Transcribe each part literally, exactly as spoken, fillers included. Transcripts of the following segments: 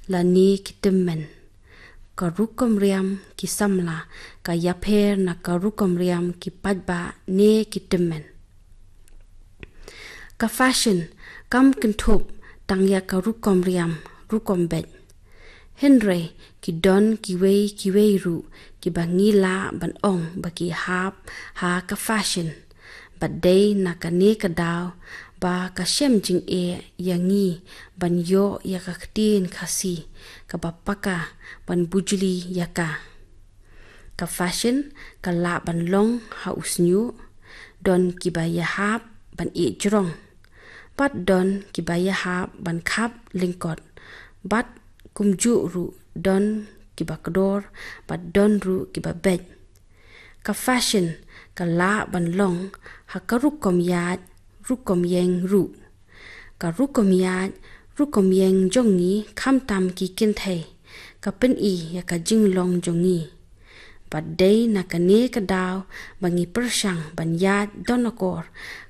lane ki tymmen. Ka rukom riam ki samla ka ïapher na ka rukom riam ki paidbah ne ki tymmen. Ka fashion kam kynthup tang ïa ka rukom riam, rukom beit. Hynrei ki don kiwei kiwei ruh kiba ngi lah ban ong ba ki hap ha ka fashion. Bad dei na kane ka daw ba ka shem jingeh ïa ngi ban ïoh ïa ka ktien Khasi kaba paka ban bujli ïa ka. Ka fashion ka lah ban long ha u shñiuh, don kiba ïahap ban ïeh jrong, bad don kiba ïahap ban khap lyngkot, bad kumjuh ruh don kiba kdor, bad don ruh kiba beit. Ka fashion ka lah ban long ha ka rukom ïaid, rukom ïeng ruh. Ka rukom ïaid, rukom ïeng jong ngi khamtam ki kynthei ka pyni ïa ka jinglong jong ngi. Bad dei na kane ka daw ba ngi pyrshang ban ïaid don akor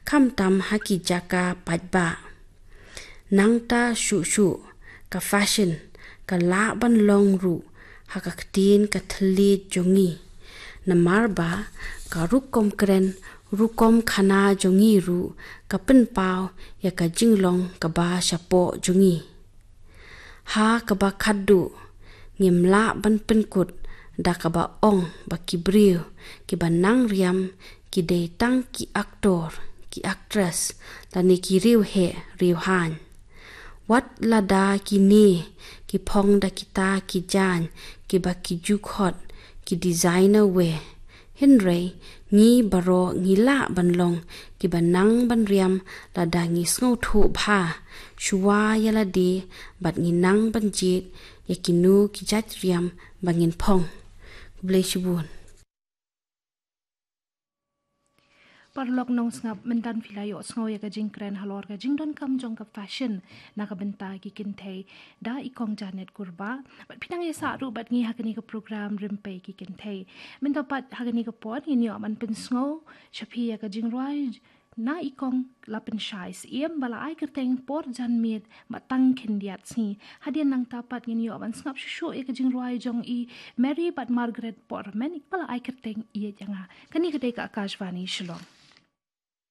khamtam ha ki jaka paidbah. Nangta shuh shuh ka fashion ka lah ban long ruh ha ka ktien ka thylliej jong ngi. Namar ba ka rukom kren, rukom khana jong ngi ruh ka pynpaw ïa ka jinglong kaba shapoh jong ngi. Ha kaba khatduh, ngim lah ban pynkut da kaba ong ba ki briew kiba nang riam ki dei tang ki aktor, ki aktris, lane ki riewheh riewhaiñ. Wat lada kine ki phong da kita ki jaiñ kiba ki ju khot ki designer wear, hynrei ngi baroh ngi lah ban long kiba nang ban riam lada ngi sngewthuh bha shuwa ïa lade, bad ngi nang ban jied ïa kino ki jait riam ba ngin phong. Khublei shibun. Paralok nongsngap, mynta phi la ïohsngew ïa ka jingkren halor ka jingdonkam jong ka fashion na ka bynta ki kynthei da i Kong Janet Kurbah. Bad phi nang ïasah ruh bad ngi ha kane ka program Rympei ki Kynthei. Mynta pat ha kane ka por ngin ïoh ban pynsngew sha phi ïa ka jingrwai na i Kong Lapynshai Syiem ba la ai kyrteng Por Janmiet Bad Tang Khyndiat Sngi. Hadien nangta pat ngin ïoh ban sngap shuh shuh ïa ka jingrwai jong i Mary bad Margaret Pormen ba la ai kyrteng Ïeit Ïa Nga. Kane ka dei ka Akashvani Shillong.